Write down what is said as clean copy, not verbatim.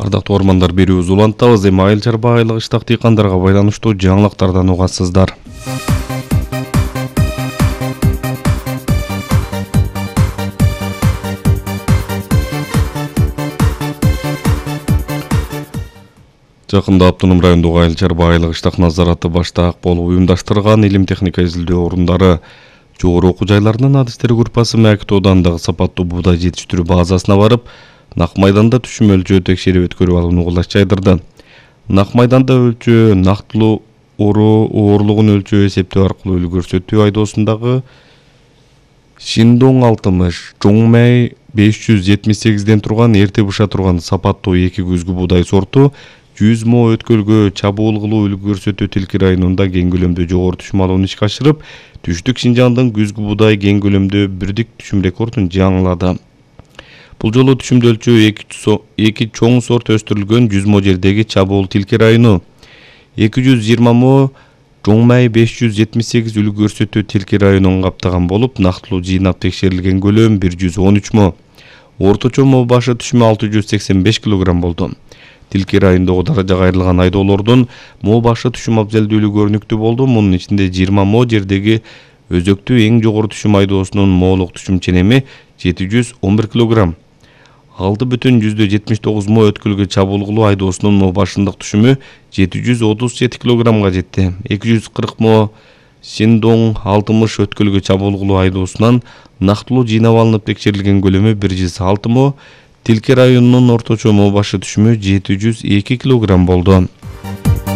Ардактуу ормандар, берүүбүз улантабыз. Эми айыл чарба айлык ыштак дыйкандарга байланыштуу жаңылыктардан угасыздар. Жакында Автоном райондогу айыл чарба айлык ыштак назараты баштаак болуп уюмдаштырган илим техника изилдөө орундары жогору окуу жайларынын адистер группасы Мәкит оодандагы сапаттуу буудай жетиштирүү базасына барып, нак майданда түшүм өлчөө текшерип өткөрүп алууну кулаш жайдырды. Нак майданда өлчөө нактылуу оорлугун өлчөө эсептөө аркылуу көрсөтүү айдоосундагы Шиндоң 60, Жоңмай 578ден турган эрте быша турган сапаттуу 2 күзгү буудай сорту 100 мо өткөлгө чабуул кылуу көрсөтүү Тилки районунда кең көлөмдө жогору түшүм алууну ишке ашырып, Түштүк Шинжаңдын күзгү буудай кең көлөмдө бирдик түшүм рекордун жаңылады. Бул жолу түшүмдө өлчөө 2 чоң сорт өстүрүлгөн 100 мо жердеги чабуул Тилки району, 220 мо Жоңмай 578 көрсөтүү Тилки районун каптаган болуп, нактылуу жыйнап текшерилген көлөм 113 мо. Орточо мо башы түшүмү 685 кг болду. Тилки райондогу даражага айрылган айдоолордун мо башы түшүм абзелдүүлүгү көрүнүктүү болду. Мунун ичинде 20 мо жердеги өзөктүү эң жогору түшүм айдоосунун молук түшүм ченеми 711 кг. 6,79 мо өткөлгө чабуул кылуу айдоосунун мо башындык түшүмү 737 кг жетти. 240 мо Шиндоң 60 өткөлгө чабуул кылуу айдоосунан нактылуу жыйнап алынып текшерилген көлөмү 106 мо. Тилки районунун орточо мо башы түшүмү 702 кг болду.